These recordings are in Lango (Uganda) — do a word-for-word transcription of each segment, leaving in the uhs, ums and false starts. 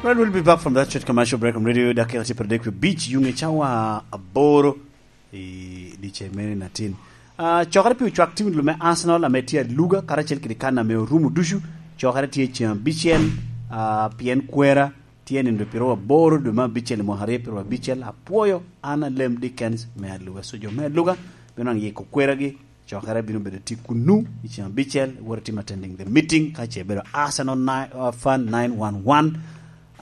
Well, we'll be back from that short commercial break on Radio Dakika tye pradek pi bic, yung i cawa aboro i dice mene natin. Ah, cokere pi ocwak tim lume Arsenal ame tye aluga, karacel kede kan ame orumo ducu. Cokere tye ceng abicel, ah, pien kwera tye nino piro aboro dwe me abicel i mwaka aryo piro abicel. Apwoyo an Alem Dickens me aluga. So jo me aluga bino nwaŋ yiko kweragi, cokere bino bedo tye kunnu i ceng abicel, wot itim attending the meeting, ka ce bedo Arsenal ni-, uh, fan nine one one,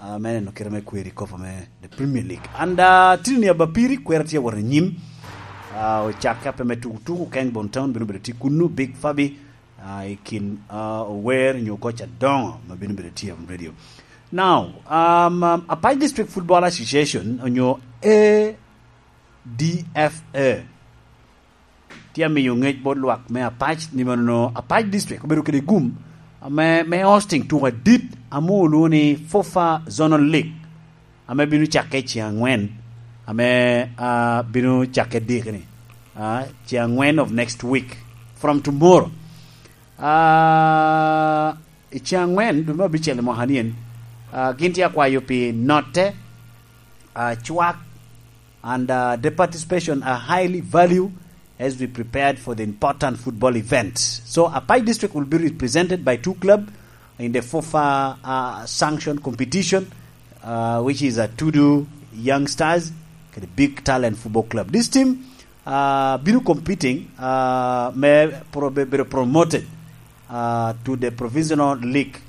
uh, me neno kite me kweri kopo me the Premier League. And, uh, tini ni abapiri, kwera tye wot i nyim, uh, ocakke ape me tuku tuku, Keng Bon Town bino bedo tye kunnu, Big Fabi, uh, i kin, uh, ower nyo koc adoŋo ma bino bedo tye on radio. Now, um, um, Apac District Football Association onyo A D F A tye amiyo ŋec bot lwak me Apac ni mano Apac District obedo kede gum ame, me hosting tuko adit ame olwoŋo ni FUFA Zonal League, ame bino cakke i ceng angwen, ame, ah, bino cakke dikini, ah, ceng angwen of next week, from tomorrow. Ah, i ceng angwen dwe me abicel i mwaka ni en, ah, gin tye akwayo pi notte, ah, cwak, and, uh, the participation are highly valued as we prepared for the important football event. So Apac District will be represented by two club in the FUFA, uh, sanction competition, uh, which is Atudu Young Stars, the Big Talent Football Club. This team, uh, bino competing, uh, me pro-, be-, bedo promoted, uh, to the Provisional League,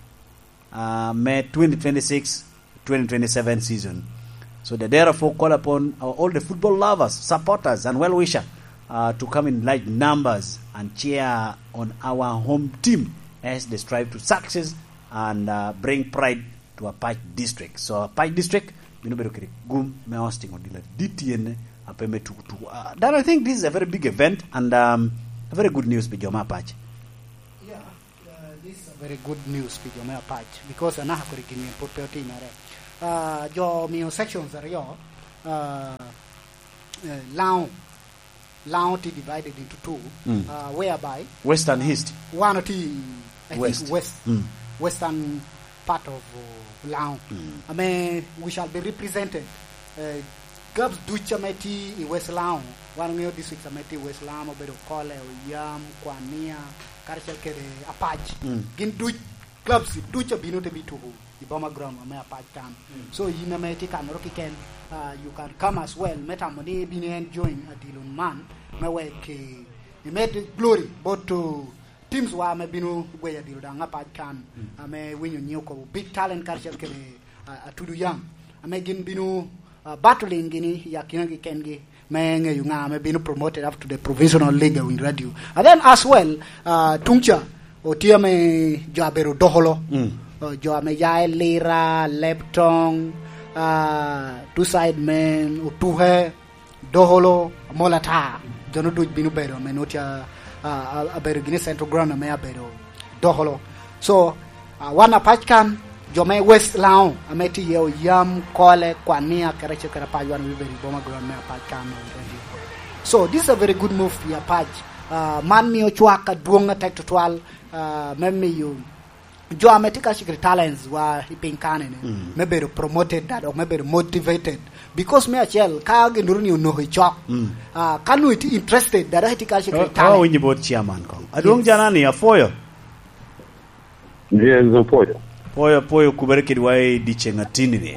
uh, me twenty twenty-six twenty twenty-seven season. So they therefore call upon our, all the football lovers, supporters, and well-wisher, uh, to come in large numbers and cheer on our home team as they strive to success and, uh, bring pride to Apac District. So Apac District bino bedo kede gum me hosting odilo adit yen ape me tuku tuku. Uh, that, I think this is a very big event and, um, a very good news pi jo me Apac. Yeah. Uh, this is a very good news pi jo me Apac, because anaka kodi gin yen pwod pe otimere. Uh, jo omio sections aryo, uh, eh, Laŋo, Laŋo tye divided into two, mm, uh, whereby West and East. Wan otye, I think, West. West, mm, western part of, uh, Laŋo. Mm. Ame we shall be represented, uh, clubs duc ame tye i West Laŋo, wan oŋeo districts ame tye i West Laŋo, obedo Kole, Oyam, Kwania, karacel kede Apac. Mm. Gin duc, clubs duc abino te bituko i Boma Ground ame Apac kan. Mm. So yin ame itye kanoro kiken, ah, you can come as well, me tamo ni ibino en join adilo man, me wek i-, imed glory bot, uh, teams wa ame bino gweyo adilo daŋ Apac kan, mm, ame winyo nyiŋ okobo Big Talent karacel kede, ah, Atudu Young, ame gin bino, ah, battling gini i akinagi kengi me ŋeyo ŋa ame bino promoted up to the provisional league in radio. And then as well, ah, tuŋ ca otye ame jo abedo dokolo. Mm. Ah, jo ame ya i Lira, Leptong, ah, two side men, Otuke, Dokolo, Amol ata. Jo-nu duc bino bedo ame nwoŋo tye, ah, ah, abedo gini Central Ground ame abedo Dokolo. So, ah, wan Apac kan, jo me West Laŋo, ame tye iye Oyam, Kole, Kwania, kede acel kede Apac, wan obedo i Boma Ground me Apac kan. So, this is a very good move pi Apac. Ah, man mio cwak adwoŋ atek tutwal, ah, me miyo jo ame tye ka cik talents wa i piny kane ni, mm, me bedo promoted, dok me bedo motivated. Because me acel, ka gin duro ni onoko i cok, mm, ah, ka nwoŋo itye interested, dada itye ka cik talent. Awinyo bot chairman kong. Adwoŋ, yes, janani, apwoyo. Yes, apwoyo. Pwoyo, apwoyo kubere kidwa i dyeceŋ atini ni.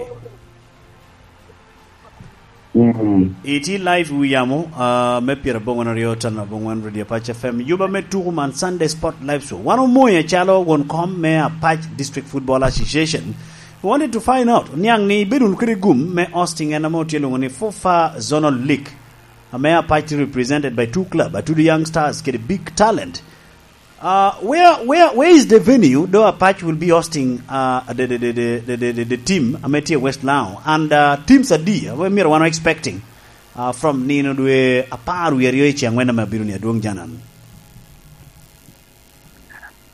Mm. Itye live wi yamo, ah, me pyerabongwen aryo tan abongwen Radio Apac F M. Yuba me tuku man Sunday Sport Live Show. Wan omoyi acalo won kom me Apac District Football Association. We wanted to find out, niaŋ ni ibedo wunu kede gum me hosting en ame otye lwoŋo ni FUFA Zonal League, ame Apac tye represented by two club, Atudu Young Stars kede Big Talent. Uh, where, where, where is the venue though Apac will be hosting, uh, the, the, the team ame tye West Laŋo? And, uh, teams adi ame myero wan expecting, uh, from nino dwe apar wie aryo i ceng wen ame abino ni, adwoŋ janan?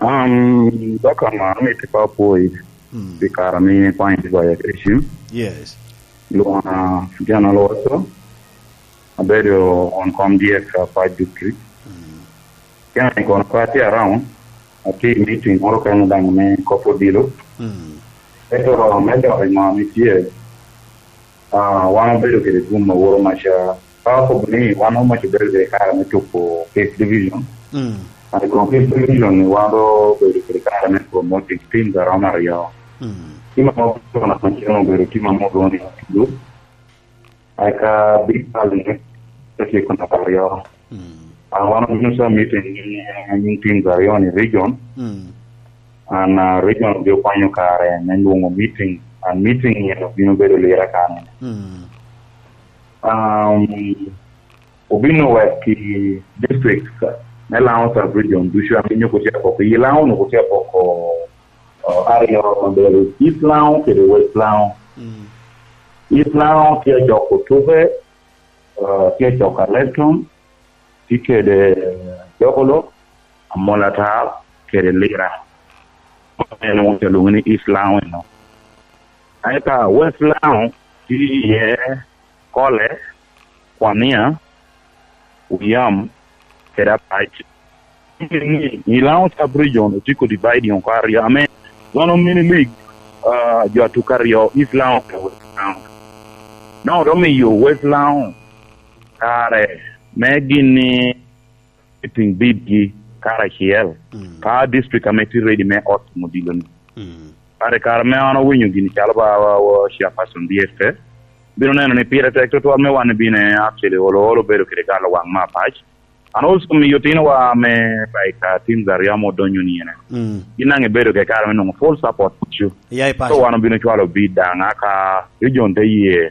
Um, dok ama amito pe apwoyi, mm, pi kare ame in ikwanyo tye goyo kede cim. Yes. Lwonga General Watson, abedo won kom dyek Apac District. Mm. Kene kono pe atye around, atye i meeting moro kene daŋ me kop odilo. Mm. Ento me dok i ŋo ame tye, ah, wan obedo kede gum aworo maca. Ka okobo ni wan omac obedo kede kare me tuko Fifth Division. Mm. Ah, i kom Fifth Division ni wan obedo kede kare me promoting teams a romo aryo. Mm. Tim ame obedo na Mancino obedo tim ame olwoŋo ni Atudu. Eka Big Valley ni, te tye kun aryo. Mm. Ah, wan obino ca meeting ni, eh, nying teams aryo ni region. Mm. An, ah, region obino kwanyo kare me lwoŋo meeting. And meeting ni obino bedo Lira kanyo. Mm. Um, obino wek i district ka, me Lango sub region ducu, ame nyuko tye apoko. I Lango nyuko tye apoko, uh, aryo, obedo East Lango kede West Lango. Mm. East Lango tye acok Otuke, uh, tye acok Alekton, tye kede Jokolo, Amolatar, kede Lira. En won te lwoŋo ni East Lango eno. Eka West Lango tye iye Kole, Kwania, Oyam, kede Apac. Ni i Lango sub region otiko dividing oko aryo, ame zone mini league, ah, jo atuk aryo, East Lango kede West Lango. Nongo omiyo West Lango kare me gin ni meeting bidgi karacel. Mm. Ka district ame tye ready me host odilo ni. Mm. Kare, kare me an owinyo gini calo ba, ba, ba chairperson D F A, bino neno ni pire tek tutwal me wan bino actually olo, olo bedo kede galo waŋ me Apac. And also miyo tinowa me, like, uh, teams aryo ame odonyo ni ene. Mm. Gin daŋ ebedo kede kare me nwoŋo full support. So wan obino cwalo bid daŋ, aka region te ye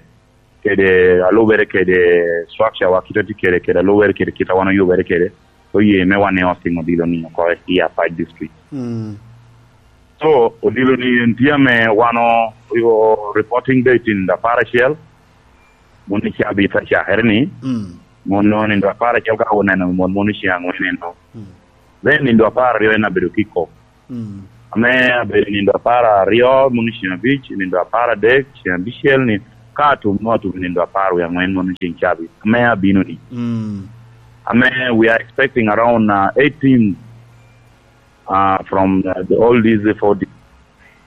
kede alubere kede structure wa, kit a tye kede, kede alubere kede kit a wan oyubere kede, oye me wan ni hosting odilo ni oko i Apac District. Mm. So, odilo ni en tye ame wan o, o reporting date in apar acel, mon i cabit acakere ni, mm, mon o nindo apar acel ka oneno mon, mon i ceng angwen eno. Mm. Then nindo apar aryo en abedo kick off. Mm. Ame abedo nindo apar aryo, mono ceng abic, nindo apar adek, ceng abicel ni, ka atum, nwa atum nindo apar wie angwen, mono ceng cabit. Ame abino ni. Mm. Ame we are expecting around, uh, eight teams, uh, from, uh, the, all these four di-,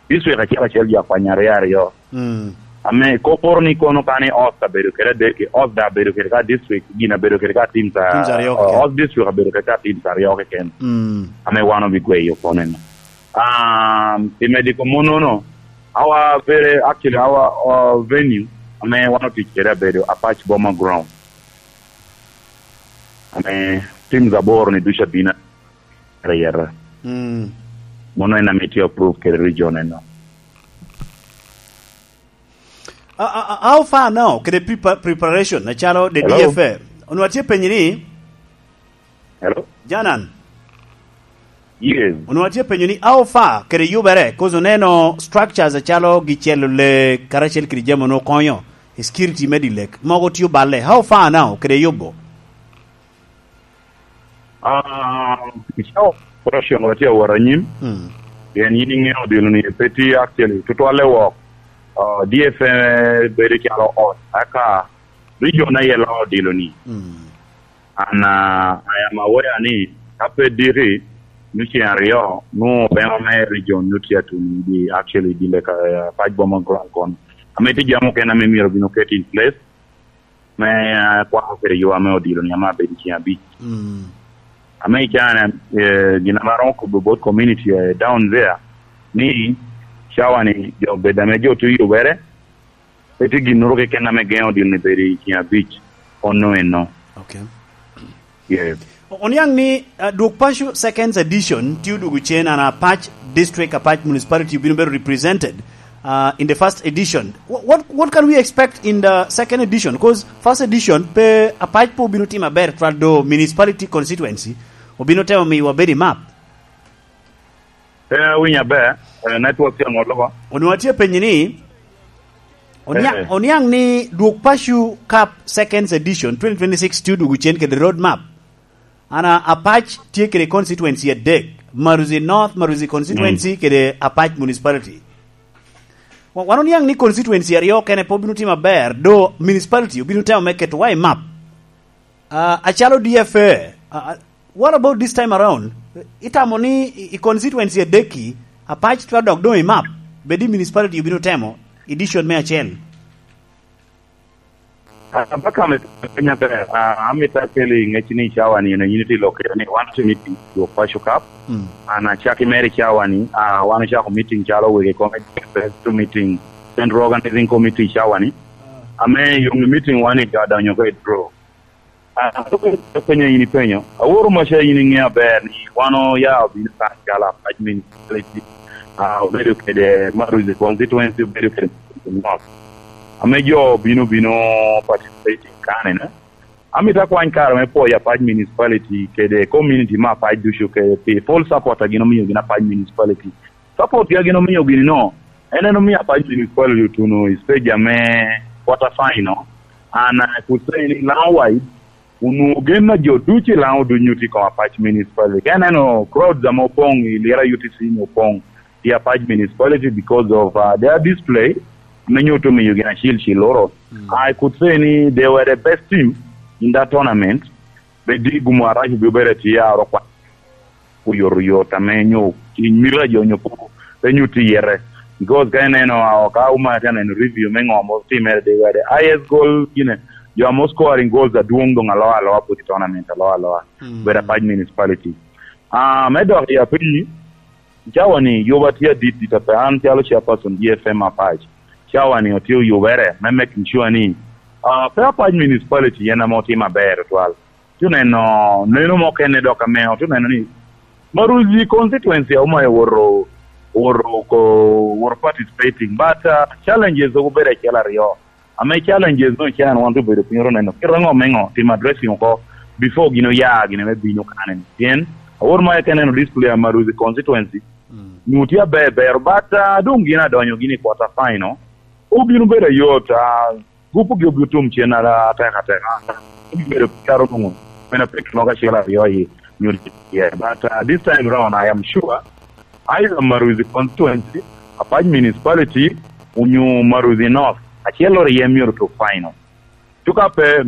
district acel acel jo akwanya aryo aryo. Mm. Ame koporo ni kono ka ni host abedo kede adek, host da abedo kede ka district, gin abedo kede ka teams a-, teams aryo keken. Host district abedo kede ka teams aryo keken. Mm. Ame wan obigweyo kono eno. Um, i mediko monono, our very, actually our, uh, venue, ame wan otic kede abedo Apac Boma Ground. Ame teams aboro ni ducu abino. Reyere. Mm. Mono en ame tye approve kede region eno. A, a, a, how far now kede prepa-, preparation, acalo the Hello? D F A? Onwa tye penyi ni? Hello? Janan? Yes. Onwa tye penyo ni how far kede yubere, 'cause oneno structures acalo gicelo lee, karacel kede jami onwo konyo, security me di lek. Mogo tye oballe. How far now kede yubo? Ah, i cawa operation watye awot anyim. Mm. Pien yin iŋeo odilo ni pe tye actually tutwalle wok. Ah, D F A bedo calo ot, aka region aye lo odilo ni. Mm. And, ah, I am aware ni ka pe diki, nu ceng aryo, nu obema me region nu tye atun di actually di leka, ah, Apac Boma Ground kono. Ame tye jami okene ame myero bino ket in place. Me, eh, kwako kede yo ame odilo ni ame abedo ceng abic. Mm. Ame i caa-ni, eh, gin ame aromo kobo bot community, eh, down there, ni cawa ni jo bedo ame jo tye yubere, pe tye ginnoro keken ame geŋo odilo ni bedo i ceng abic, onno enno. Okay. Yes. O-, oniaŋ ni, uh, Dwog Paco Second Edition tye odwogo cen, and Apac District, Apac Municipality obino bedo represented, uh, in the first edition. Wha-, what, what can we expect in the second edition? 'Cause first edition pe, Apac pe obino timo aber twal, do municipality constituency obino temo miyo wabed i map. Pe awinyo aber, eh, network tye aŋo loba? Onwa tye penyi ni, onia-, eh, oniaŋ ni Dwog Paco Cup Second Edition twenty twenty-six tye odwogo cen kede road map. Ana Apac tye kede constituency adek, Maruzi North, Maruzi constituency, mm, kede Apac Municipality. Wa-, wan oniaŋ ni constituency aryo kene pe obino timo aber, do municipality obino temo me keto wa i map. Ah, acalo D F A, ah, ah, what about this time around? Itamo ni i, i constituency adek-ki, Apac twero dok doŋ i map? Bed i municipality obino temo edition me acel. Ah, baka me penya ber, ah, amito akeli ŋec ni cawa ni, yin itye i lok kede ni wan otye meeting wok Paco Cup. Mm. An acaki mere cawa ni, ah, wan ocako meeting calo wegi kong first meeting, Central Organizing Committee cawa ni. Ame yung meeting wan i jo adonyo ko i draw. Ah, penyo yin ipenyo. Aworo maca yin iŋeo aber ni wan oya obino kan calo apac municipality. Ah, obedo kede Maruzi constituency, obedo kede North. Ame jo bino, bino participating kane na. Amito akwany kare me pwoyo apac municipality kede community me apac ducu kede pi full support a gin omio gin apac municipality. Support a gin omio gini no, en en omio apac municipality otuno i stage ame quarter final. And I could say ni Laŋo wide, onwoŋo gen a jo ducu i Laŋo ducu nyuto i kom apac municipality. Ka ineno crowds ame opoŋ i Lira U T C ni opoŋ i apac municipality because of, uh, their display, ame nyuto miyo gin acil cil oro. Mm. I could say ni they were the best team in that tournament. Bed i gumo arac obio bedo atye a oro kwa. Oyotoyot ame nyo i mito a jo nyo po pe nyuto iyete. Because ka ineno, ah, ka uma atye neno review me ŋo mo timere, they were the highest goal, you know, jo ame scoring goals adwoŋ doŋ alo aloa pwod i tournament alo aloa. Mm. Bedo apac municipality. Ah, me dok i apinyi, cawa ni yoba tye adit dit ape an calo chairperson G F M apac. Cawa ni otye oyubere me making sure ni, ah, pe apac municipality en ame otimo aber otwal. Tye oneno neno mukene dok ame otye oneno ni Maruzi constituency auma owoto, owoto oko, owoto participating, but, uh, challenges dok obedo acel aryo. Ame challenges no can wan obedo piny oro neno kit aŋo me ŋo timo addressing oko before gin oya gin ame bino kane ni. Pien awor ma eke neno display a Maruzi constituency, mm, nyo tye aber ber, but, uh, doŋ gin adonyo gini quarter final. Obino bedo ayot, uh, Gup gi obino tum cen atek ateka. Obedo caro nwoŋo men apek mogo acel aryo i nyuto iye. But, uh, this time round, I am sure either Maruzi constituency, Apac municipality, onyo Maruzi North, acel ori iye myero to final. Cuka pe,